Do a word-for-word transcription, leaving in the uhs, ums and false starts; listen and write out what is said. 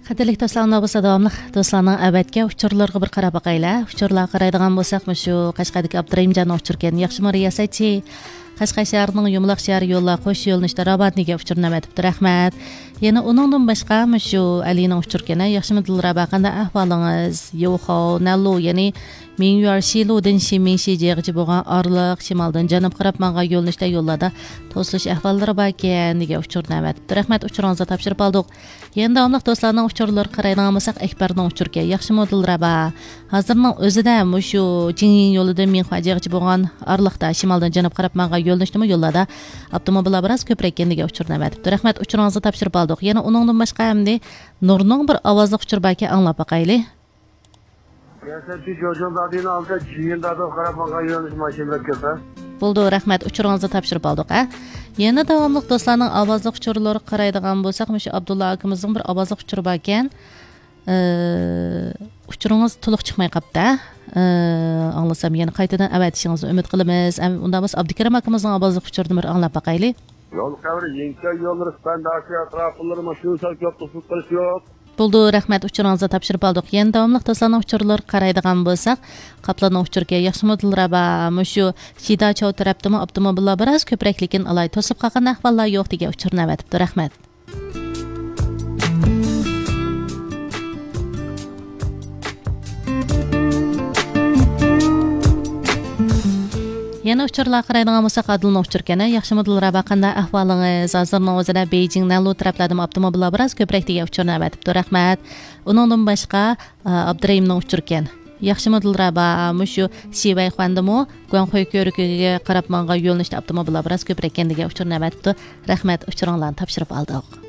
قەدىرلىك دوستلار، ئۇنداق بولسا داۋاملىق دوستلارنىڭ ئەۋەتكەن ئۇچۇرلىرىغا بىر قاراپ باقايلى. ئۇچۇرلارغا قارايدىغان بولساق، مۇشۇ قەشقەردىكى ئابدۇرېھىمجاننىڭ ئۇچۇرىكەن. ياخشىمۇ رىياسەتچى؟ قەشقەر شەھىرىنىڭ يۇمىلاق شەھەر يوللار قوش يۆنىلىشىدە راۋان دېگەن ئۇچۇرنى ئەۋەتىپتۇ. رەھمەت. يەنە ئۇنىڭدىن باشقا مۇشۇ ئەلىنىڭ ئۇچۇرىكەن. ياخشىمۇ دىلرەبا، قانداق ئەھۋالىڭىز؟ يوخاۋ، نەللۇ، يەنى مىڭيۈەر شىلۇدىن شىمىڭشى جىغىچە بولغان ئارىلىق شىمالدىن جەنۇبقا قاراپ ماڭغان يۆنىلىشتە يوللاردا توسۇلۇش ئەھۋاللىرى باركەن دېگەن ئۇچۇرنى ئەۋەتىپتۇ. رەھمەت، ئۇچۇرىڭىزنى تاپشۇرۇپ ئالدۇق. يەنە داۋاملىق دوستلارنىڭ ئۇچۇرلىرىغا قارايدىغان بولساق، ئەكبەرنىڭ ئۇچۇرىكەن. ياخشىمۇ دىلرەبا؟ ھازىرنىڭ ئۆزىدە مۇشۇ جىڭيىڭ يولىدىن مىڭخۇا جىغىچە بولغان ئارىلىقتا شىمالدىن جەنۇبقا قاراپ ماڭغان يۆنىلىشتىمۇ يوللاردا ئاپتوموبىللار بىراز كۆپرەككەن دېگەن ئۇچۇرنى ئەۋەتىپتۇ. رەھمەت، ئۇچۇرىڭىزنى تاپشۇرۇپ ئالدۇق. يەنە ئۇنىڭدىن باشقا ئەمدى نۇرنىڭ بىر ئاۋازلىق ئۇچۇرى باركەن، ئاڭلاپ باقايلى. رىياسەتچى، جوجۇڭدادىنىڭ ئالدىدا جىڭيىندادىغا قاراپ ماڭغان يۆنىلىش ماشىنىلار كۆپ، ھە؟ بولدى، رەھمەت، ئۇچۇرىڭىزنى تاپشۇرۇپ ئالدۇق، ھە؟ يەنە داۋاملىق دوستلارنىڭ ئاۋازلىق ئۇچۇرلىرىغا قارايدىغان بولساق، مۇشۇ ئابدۇللا ئاكىمىزنىڭ بىر ئاۋازلىق ئۇچۇرى باركەن. ئى، ئۇچۇرىڭىز تولۇق چىقماي قاپتۇ، ھە؟ ئى، ئاڭلىسام يەنە قايتىدىن ئەۋەتىشىڭىزنى ئۈمىد قىلىمىز. ئەم-، ئۇنداق بولسا ئابدۇكېرىم ئاكىمىزنىڭ ئاۋازلىق ئۇچۇرىنى بىر ئاڭلاپ باقايلى. يول خەۋىرى، يىڭچەن يوللىرى، سىپەن داشى ئەتراپلىرى ماشىنا سەل كۆپ توسۇلۇپ قېلىش يوق. بولدى، رەھمەت، ئۇچۇرىڭىزنى تاپشۇرۇپ ئالدۇق. يەنە داۋاملىق دوستلارنىڭ ئۇچۇرلىرىغا قارايدىغان بولساق، قاپلاننىڭ ئۇچۇرىكەن. ياخشىمۇ دىلرەبا؟ مۇشۇ شىداچاۋ تەرەپتىمۇ ئاپتوموبىللار بىراز كۆپرەكلىكىن ئالاي، توسۇلۇپ قالغان ئەھۋاللار يوق دېگەن ئۇچۇرنى ئەۋەتىپتۇ. رەھمەت. يەنە ئۇچۇرلارغا قارايدىغان بولساق، ئادىلنىڭ ئۇچۇرىكەن. ياخشىمۇ دىلرەبا، قانداق ئەھۋالىڭىز؟ ھازىرنىڭ ئۆزىدە بېيجىڭ، نەنلۇ تەرەپلەردىمۇ ئاپتوموبىللار بىراز كۆپرەك دېگەن ئۇچۇرنى ئەۋەتىپتۇ. رەھمەت. ئۇنىڭدىن باشقا، ئا، ئابدۇرېھىمنىڭ ئۇچۇرىكەن. ياخشىمۇ دىلرەبا؟ مۇشۇ شىۋەيخۇەندىمۇ گۇاڭخۇي كۆۋرۈكىگە قاراپ ماڭغان يۆنىلىشتە ئاپتوموبىللار بىراز كۆپرەككەن دېگەن ئۇچۇرنى ئەۋەتىپتۇ. رەھمەت، ئۇچۇرۇڭلارنى تاپشۇرۇپ ئالدۇق.